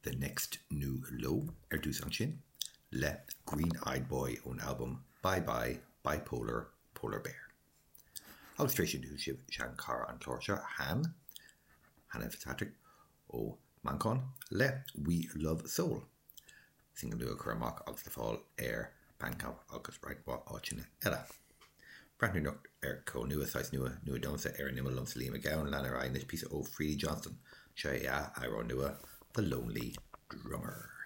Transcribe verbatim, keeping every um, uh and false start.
The Next New Low ar dtús ansin le Green Eyed Boy ón albam Bye Bye Bipolar Polar Bear. Agus tar éis sin sibh seanchara an chláir seo Han Hannah Fitzpatrick ó Manchain le We Love Soul. Single nua curtha amach agus le fáil ar Bandcamp agus roinnt mhaith áiteanna eile. Breathnú ar ceol nua saghas nua nua domsa ar an imeall liomsa Liam Mac Gabhann lean ar aghaidh píosa ó Freedy Johnston seo é a amhrán nua The Lonely Drummer.